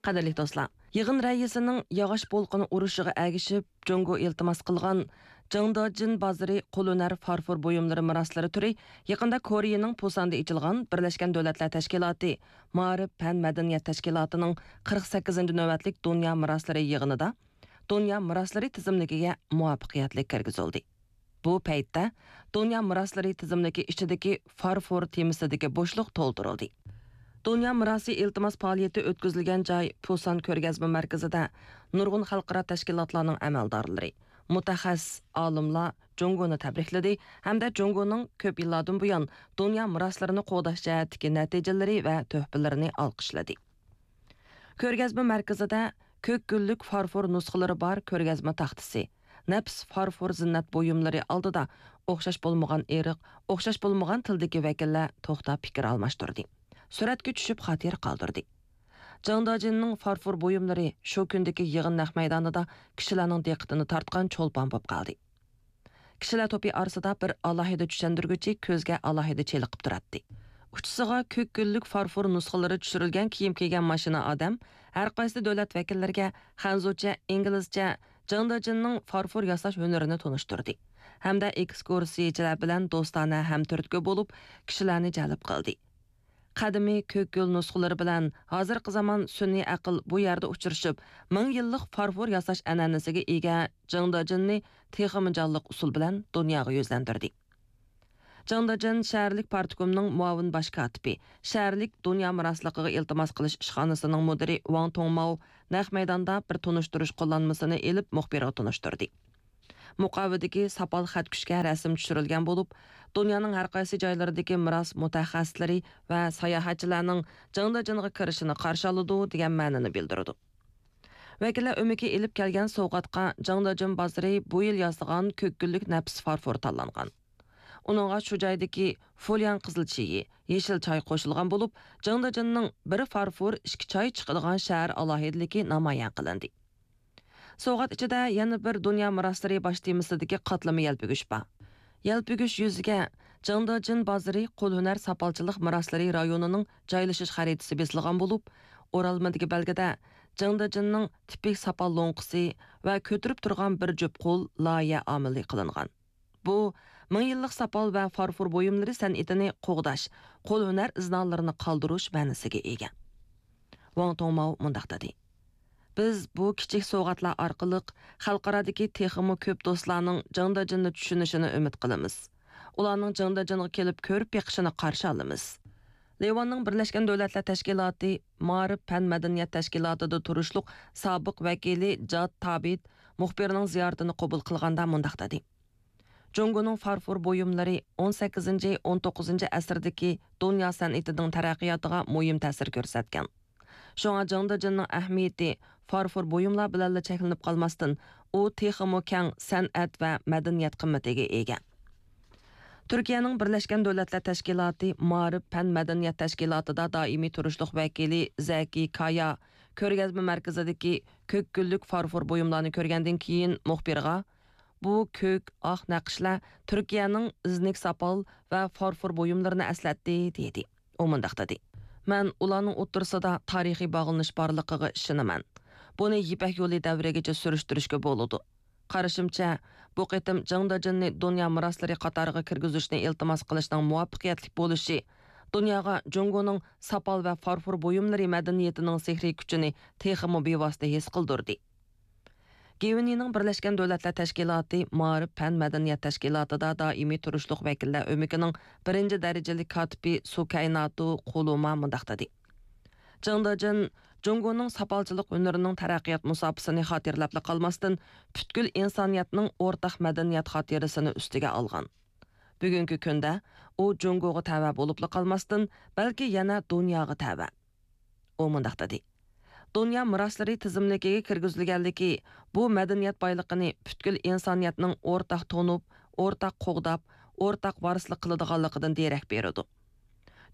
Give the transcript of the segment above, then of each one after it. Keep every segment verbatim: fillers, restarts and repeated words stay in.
قەدىرلىك دوستلار، يىغىن رەئىسىنىڭ ياغاچ بولقىنى ئۇرۇشىغا ئەگىشىپ، جۇڭگو ئىلتىماس قىلغان جىڭدېجىن بازىرى قول ھۈنەر فارفور بۇيۇملىرى مىراسلىرى تۈرى يېقىندا كورېيىنىڭ پۇساندا ئېچىلغان بىرلەشكەن دۆلەتلەر تەشكىلاتى مائارىپ پەن مەدەنىيەت تەشكىلاتىنىڭ قىرىق سەككىزىنچى نۆۋەتلىك دۇنيا مىراسلىرى يىغىنىدا دۇنيا مىراسلىرى تىزىملىكىگە مۇۋەپپەقىيەتلىك كىرگۈزۈلدى. بۇ پەيتتە دۇنيا مىراسلىرى تىزىملىكى ئىچىدىكى فارفور تېمىسىدىكى بوشلۇق تولدۇرۇلدى. دۇنيا مىراسى ئىلتىماس پائالىيىتى ئۆتكۈزۈلگەن جاي پۇسان كۆرگەزمە مەركىزىدە نۇرغۇن خەلقئارا تەشكىلاتلارنىڭ ئەمەلدارلىرى، مۇتەخەسسىس ئالىملار جۇڭگونى تەبرىكلىدى ھەمدە جۇڭگونىڭ كۆپ يىللاردىن بۇيان دۇنيا مىراسلىرىنى قوغداش جەھەتتىكى نەتىجىلىرى ۋە تۆھپىلىرىنى ئالقىشلىدى. كۆرگەزمە مەركىزىدە كۆك گۈللۈك فارفور نۇسخىلىرى بار كۆرگەزمە تاختىسى، نەپىس فارفور زىننەت بۇيۇملىرى ئالدىدا ئوخشاش بولمىغان ئىرق، ئوخشاش بولمىغان تىلدىكى ۋەكىللەر توختاپ پىكىر ئالماشتۇردى. سۈرەتكە چۈشۈپ خاتىرە قالدۇردى. جاڭ دېجىننىڭ فارفور بۇيۇملىرى شۇ كۈندىكى يىغىن نەق مەيدانىدا كىشىلەرنىڭ دىققىتىنى تارتقان چولپان بولۇپ قالدى. كىشىلەر توپى ئارىسىدا بىر ئالاھىدە چۈشەندۈرگۈچى كۆزگە ئالاھىدە چېلىقىپ تۇراتتى. ئۇچىسىغا كۆك گۈللۈك فارفور نۇسخىلىرى چۈشۈرۈلگەن كىيىم كىيگەن ماشىنا ئادەم ھەر قايسى دۆلەت ۋەكىللىرىگە خەنزۇچە، ئىنگلىزچە جاڭ دېجىننىڭ فارفور ياساش ھۈنىرىنى تونۇشتۇردى ھەمدە ئېكسكۇرسىيىچىلەر بىلەن دوستانە ھەمتۈرتكە بولۇپ، كىشىلەرنى جەلپ قىلدى. قەدىمىي كۆك گۈل نۇسخىلىرى بىلەن ھازىرقى زامان سۈنئىي ئەقىل بۇ يەردە ئۇچرىشىپ، مىڭ يىللىق فارفور ياساش ئەنئەنىسىگە ئىگە جاڭ دېجىننى تېخىمۇ جانلىق ئۇسۇل بىلەن دۇنياغا يۈزلەندۈردى. جاڭ دېجىن شەھەرلىك پارتكومنىڭ مۇئاۋىن باش كاتىپى، شەھەرلىك دۇنيا مىراسلىقىغا ئىلتىماس قىلىش ئىشخانىسىنىڭ مۇدىرى ۋاڭ توڭماۋ نەق مەيداندا بىر تونۇشتۇرۇش قوللانمىسىنى ئېلىپ، مۇخبىرغا تونۇشتۇردى. مۇقاۋىدىكى ساپال خەتكۈچكە رەسىم چۈشۈرۈلگەن بولۇپ، دۇنيانىڭ ھەر قايسى جايلىرىدىكى مىراس مۇتەخەسسىسلىرى ۋە ساياھەتچىلەرنىڭ جاڭ دېجىنغا كىرىشىنى قارشى ئالىدۇ، دېگەن مەنىنى بىلدۈرىدۇ. ۋەكىللەر ئۆمىكى ئېلىپ كەلگەن سوۋغاتقا جاڭ دېجىن بازىرى بۇ يىل ياسىغان كۆك گۈللۈك نەپىس فارفور تاللانغان. ئۇنىڭغا شۇ جايدىكى فۇلياڭ قىزىل چېيى، يېشىل چاي قوشۇلغان بولۇپ، جاڭ دېجىننىڭ بىر فارفور، ئىككى چاي چىقىدىغان شەھەر ئالاھىدىلىكى نامايان قىلىندى. سوۋغات ئىچىدە يەنە بىر دۇنيا مىراسلىرى باش تېمىسىدىكى قاتلىما يەلپۈگۈچ بار. يەلپۈگۈچ يۈزىگە جاڭدېجىن بازىرى قول ھۈنەر ساپالچىلىق مىراسلىرى رايونىنىڭ جايلىشىش خەرىتىسى بېسىلغان بولۇپ، ئورالمىدىكى بەلگىدە جاڭدېجىننىڭ تىپىك ساپال لوڭقىسى ۋە كۆتۈرۈپ تۇرغان بىر جۈپ قول لايىھە ئامىلى قىلىنغان. بۇ مىڭ يىللىق ساپال ۋە فارفور بۇيۇملىرى سەنئىتىنى قوغداش، قول ھۈنەر ئىزنالىرىنى قالدۇرۇش مەنىسىگە ئىگە. ۋاڭ توڭماۋ مۇنداق دېدى: بىز بۇ كىچىك سوۋغاتلار ئارقىلىق خەلقئارادىكى تېخىمۇ كۆپ دوستلارنىڭ جاڭدېجىننى چۈشىنىشىنى ئۈمىد قىلىمىز. ئۇلارنىڭ جاڭدېجىنغا كېلىپ كۆرۈپ بېقىشىنى قارشى ئالىمىز. لىۋاننىڭ بىرلەشكەن دۆلەتلەر تەشكىلاتى مائارىپ پەن مەدەنىيەت تەشكىلاتىدا تۇرۇشلۇق سابىق ۋەكىلى جاد تابىت مۇخبىرنىڭ زىيارىتىنى قوبۇل قىلغاندا مۇنداق دېدى: جۇڭگونىڭ فارفور بۇيۇملىرى ئون سەككىزىنچى، ئون توققۇزىنچى ئەسىردىكى دۇنيا سەنئىتىنىڭ تەرەققىياتىغا مۇھىم تەسىر كۆرسەتكەن. شۇڭا جاڭدېجىننىڭ ئەھمىيىتى فارفور بۇيۇملار بىلەنلا چەكلىنىپ قالماستىن، ئۇ تېخىمۇ كەڭ سەنئەت ۋە مەدەنىيەت قىممىتىگە ئىگە. تۈركىيەنىڭ بىرلەشكەن دۆلەتلەر تەشكىلاتى مائارىپ پەن مەدەنىيەت تەشكىلاتىدا دائىمىي تۇرۇشلۇق ۋەكىلى زەكى كايا كۆرگەزمە مەركىزىدىكى كۆك گۈللۈك فارفور بۇيۇملارنى كۆرگەندىن كېيىن مۇخبىرغا، بۇ كۆك، ئاق نەقىشلەر تۈركىيەنىڭ ئىزنىك ساپال ۋە فارفور بۇيۇملىرىنى ئەسلەتتى، دېدى. ئۇ مۇنداق دېدى: مەن ئۇلارنىڭ ئوتتۇرىسىدا تارىخىي باغلىنىش بارلىقىغا ئىشىنىمەن. بۇنى يىپەك يولى دەۋرىگىچە سۈرۈشتۈرۈشكە بولىدۇ. قارىشىمچە، بۇ قېتىم جاڭدېجىننى دۇنيا مىراسلىرى قاتارىغا كىرگۈزۈشنى ئىلتىماس قىلىشنىڭ مۇۋەپپەقىيەتلىك بولۇشى دۇنياغا جۇڭگونىڭ ساپال ۋە فارفور بۇيۇملىرى مەدەنىيىتىنىڭ سېھرىي كۈچىنى تېخىمۇ بىۋاسىتە ھېس قىلدۇردى. گىۋېنىنىڭ بىرلەشكەن دۆلەتلەر تەشكىلاتى مائارىپ پەن مەدەنىيەت تەشكىلاتىدا دائىمىي تۇرۇشلۇق ۋەكىللەر ئۆمىكىنىڭ بىرىنچى دەرىجىلىك كاتىپى سۇكەيناتۇ قۇلۇما مۇنداق دېدى: جاڭ دېجىن جۇڭگونىڭ ساپالچىلىق ھۈنىرىنىڭ تەرەققىيات مۇساپىسىنى خاتىرىلەپلا قالماستىن، پۈتكۈل ئىنسانىيەتنىڭ ئورتاق مەدەنىيەت خاتىرىسىنى ئۈستىگە ئالغان. بۈگۈنكى كۈندە ئۇ جۇڭگوغا تەۋە بولۇپلا قالماستىن، بەلكى يەنە دۇنياغا تەۋە. ئۇ مۇنداق دېدى: دۇنيا مىراسلىرى تىزىملىكىگە كىرگۈزۈلگەنلىكى بۇ مەدەنىيەت بايلىقىنى پۈتكۈل ئىنسانىيەتنىڭ ئورتاق تونۇپ، ئورتاق قوغداپ، ئورتاق ۋارىسلىق قىلىدىغانلىقىدىن دېرەك بېرىدۇ.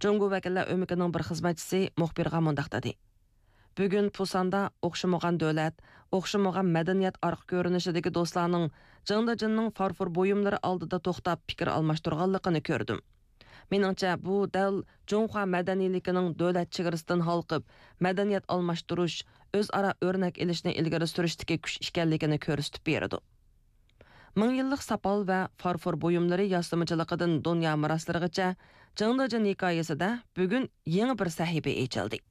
جۇڭگو ۋەكىللەر ئۆمىكىنىڭ بىر خىزمەتچىسى مۇخبىرغا مۇنداق دېدى: بۈگۈن پۇساندا ئوخشىمىغان دۆلەت، ئوخشىمىغان مەدەنىيەت ئارقا كۆرۈنۈشىدىكى دوستلارنىڭ جاڭدېجىننىڭ فارفور بۇيۇملىرى ئالدىدا توختاپ پىكىر ئالماشتۇرغانلىقىنى كۆردۈم. مېنىڭچە، بۇ دەل جۇڭخۇا مەدەنىيلىكىنىڭ دۆلەت چېگرىسىدىن ھالقىپ، مەدەنىيەت ئالماشتۇرۇش، ئۆزئارا ئۆرنەك ئېلىشنى ئىلگىرى سۈرۈشتىكى كۈچ ئىكەنلىكىنى كۆرسىتىپ بېرىدۇ. مىڭ يىللىق ساپال ۋە فارفور بۇيۇملىرى ياسىمىچىلىقىدىن دۇنيا مىراسلىرىغىچە جېڭ دېجىن ھېكايىسىدە بۈگۈن يېڭى بىر سەھىپە ئېچىلدى.